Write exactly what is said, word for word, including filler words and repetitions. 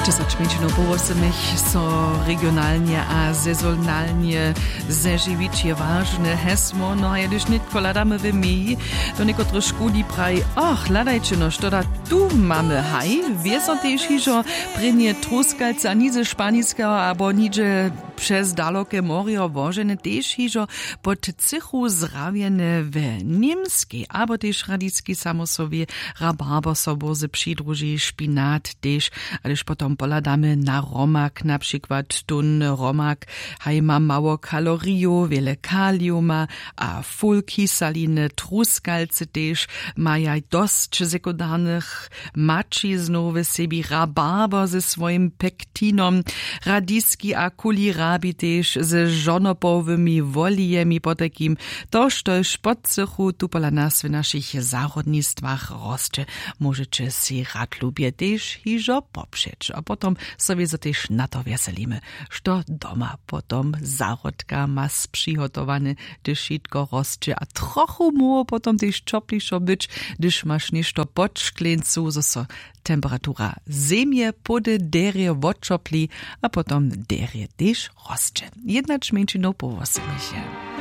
Dźesać mjeńšinow po wosomich so regionalnje a sezonalnje zežiwić je wažne hesło. No a jedyž nětko hladamy w meji, do někotrych škuli praji: Och, hladajće, no što da tu mamy? Haj, wězo tež hižo prěnje truskalce a nize španiskeho abo niže přez daloke morjo wožene tež hižo pod cychu zrawjene w Němskej abo tež radiski samosowi rabarber so bórze přidruži, špinat tež. A hdyž potom pohladamy na hromak, na přikład tón hromak haj ma mało kalorijow, wjele kaliuma a fulkisaliny, truskalce tež maja dosć sekundarnych maćiznow w sebi, rabarber ze swojim pektinom, radiski a kulirabi tež ze žonopowymi wolijemi, potajkim to štož podcychu tu pola nas w našich zahrodnistwach rosće, móžeće sej rad lubje tež hižo popřeć. A potom so wězo tež na to wjeselimy, što doma potom zahrodka ma přihotowane, hdyž wšitko rosće a trochu móhło potom tež ćoplišo być, hdyž maš něšto pod škleńcu, zo so temperatura zemje pody derje woćopli a potom derje tež rosće. Jednać mjeńšinow po wosomich je.